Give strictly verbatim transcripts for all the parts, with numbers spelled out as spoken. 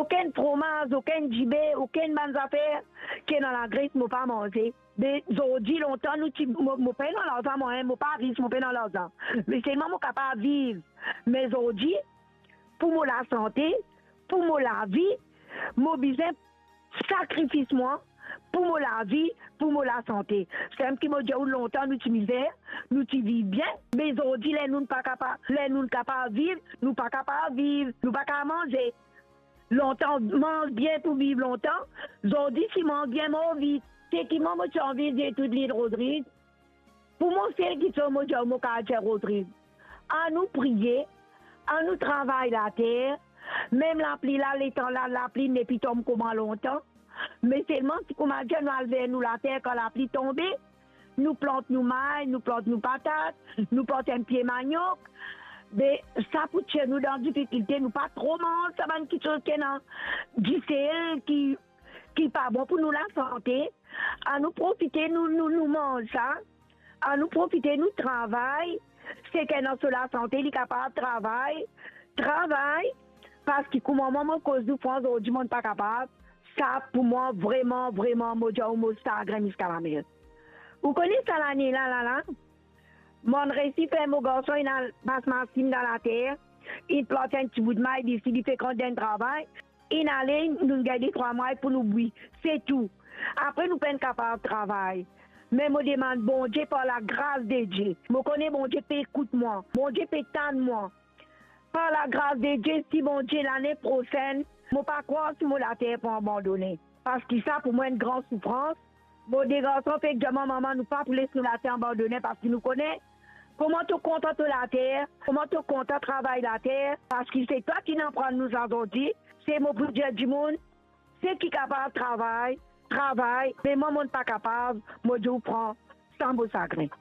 Okenn fromaz, okenn dibe, okenn bann zafer ki ena lagres mo pa manze. Me zordi, lontan nou ti, mo, mo pena larzan mwa, mo pa ris, mo pena larzan. Me selman mo kapav viv. Me zordi, pou mo lasante, pou mo lavi, mo bizin sakrifis mwa, pou mo lavi, pou mo lasante. Semem ki mo dir ou, lontan nou ti mizer, nou ti viv bien. Me zordi, ler nou pa kapav, ler nou kapav viv, nou pa kapav viv, nou pa kapav manze. Lontan manz bien pou viv lontan, zordi si manz bien mor vit. Seki mwa mo ti anvi dir tou lil Rodrig, pou mo sel kiksoz mo dir ou, mo kapav dir Rodrig, anou priye, anou travay later, mem lapli la, letan la, lapli nepli tom kouma lontan, me selman si kouma dir nou al ver nou later kan lapli tonbe, nou plant nou may, nou plant nou patat, nou plant enn pie maniok, be sa pou tir nou dan difikilte, nou pa tro manz sa bann kiksoz ki ena disel, ki, ki pa bon pou nou lasante. Anou profite nou, nou, nou manz sa, anou profite nou travay, seki ena so lasante, li kapav travay, travay, parski kouma mwa mo koz nou fran zordi, mo pa kapav. Sa pou mwa, vreman, vreman, mo dir ou, mo sagrin ziska lamem. Ou kone sa lane la, la, la, mo'nn resi fer mo garson inn al pas masin dan later, inn plant enn ti bout may, li, li fek rant dan travay, inn ale, nou gagn de trwa may pou nou bwi, se tou. Apre nou pa'nn kapav travay. Me mo demann Bondie par lagras de Die. Mo kone Bondie pe ekout mwa. Bondie pe tann mwa. Par lagras de Die, si Bondie lane prosenn, mo pa krwar si mo later pou abandone. Parski sa pou mwa enn gran soufrans. Mo de garson fek dir mwa, mama, nou pa pou les nou later abandone, parski nou kone kouma to kontan to later, kouma to kontan travay later, parski se twa ki'nn aprann nou sa zordi. Se mo pou dir dimoun, seki kapav travay, travay, me mwa, mo'nn pa kapav, mo dir ou, pran sa mo sagrin.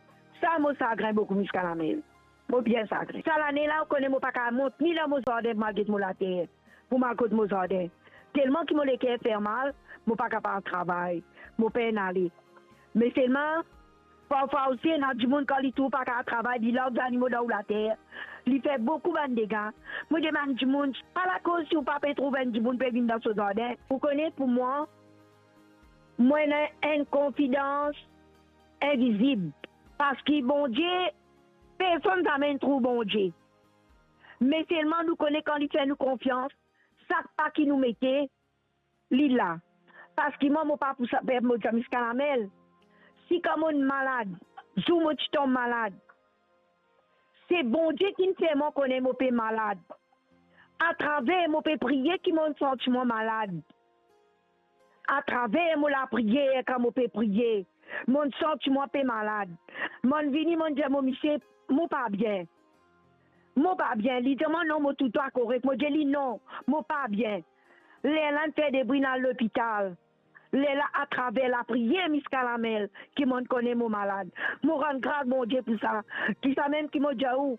Sa mo sagrin boukou ziska lamem. Mo bien sagrin. Sa lane la, ou kone mo pa kapav mont ni dan mo zardin pou mo al get mo later, pou mo al kot mo zardin. Telman ki mo leker fer mal, mo pa kapav travay, mo pa'nn ale. Me selman, parfwa osi, ena dimoun kan li trouv pa kapav travay, li larg zanimo dan ou later, li fer boukou bann dega. Mo demann dimoun, pa lakoz si ou pa pe trouv enn dimoun pe vinn dan so zardin. Ou kone, pou mwa, mwa ena enn konfidans invizib, parski Bondie, personn zame trouv Bondie. Me selman nou kone kan li fer nou konfians, sak pa ki nou mete, li la. Parski mwa, mo pa pou sa, pe mo dir ziska lamem. Si kan mo'nn malad, zour mo ti tom malad, se Bondie ki'nn fer mwa kone mo pe malad. Atraver mo pe priye ki mo'nn santi mwa malad. Atraver mo lapriyer, kan mo pe priye, mo'nn santi mwa pe malad. Mo'nn vini, mo'nn dir mo misie, mo pa bien. Mo pa bien. Li dir mwa, non, mo trouv twa korek. Mo dir li, non, mo pa bien. Lerla inn fer debri, inn al lopital. Lerla, atraver lapriyer ziska lamem, ki mo'nn kone mo malad. Mo rann gras Bondie pou sa. Ki sa mem ki mo dir ou,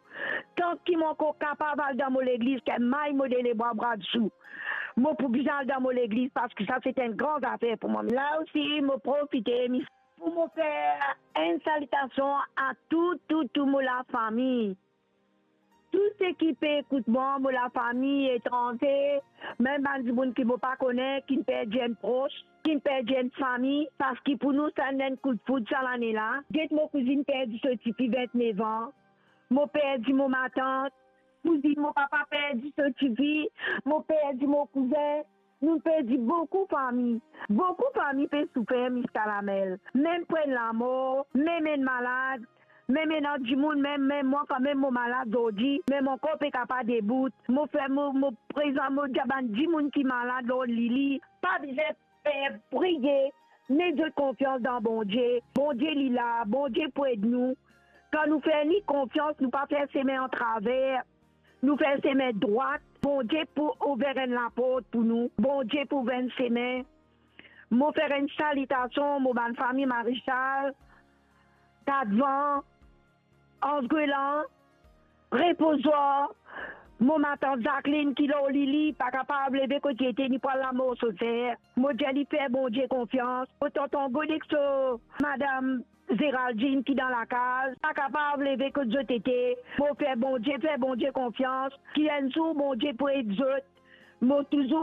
tan ki mo ankor kapav al dan mo legliz, ki may mo de lebwa bra dsou, mo pou bizin al dan mo legliz, parski sa se enn gran zafer pou mwa. La osi, mo profite, mi pou mo fer enn salitasion a tou, tou, tou mo lafami. Tou seki pe ekout mwa, mo lafami etranze, mem bann dimoun ki mo pa kone, ki'nn perdi enn pros, ki'nn perdi enn fami, parski pou nou sa enn koudfoud sa lane la. Get mo kouzinn perdi so tifi vintnef an, mo perdi mo matant, kouzinn mo papa perdi so tifi, mo perdi mo kouzin, nou perdi boukou fami. Boukou fami pe soufer ziska lamem. Mem pou enn lamor, mem enn malad, mem ena dimoun, mem, mem mwa, kan mem mo malad zordi, mem mo ankor pe kapav debout. Mo fer mo, mo prezan, mo dir bann dimoun ki malad lor lili, pa bizin per, priye, met zot konfians dan Bondie. Bondie li la, Bondie pou ed nou. Kan nou fer li konfians, nou pa fer sime atraver, nou fer sime drwat, Bondie pou ouver enn laport pou nou, Bondie pou ouver enn sime. Mo fer enn salitasion mo bann fami Marisal, Katvan, Anse Greland, Repozoir, mo matant Jacqueline ki lor lili, pa kapav leve kot li ete, li pou al lamor so ser. Mo dir li fer Bondie konfians. Mo tonton Godexo, madam Géraldine ki dan lakaz, pa kapav leve kot zot ete. Mo fer Bondie, fer Bondie konfians, ki enn zour Bondie pou ed zot. Mo touzour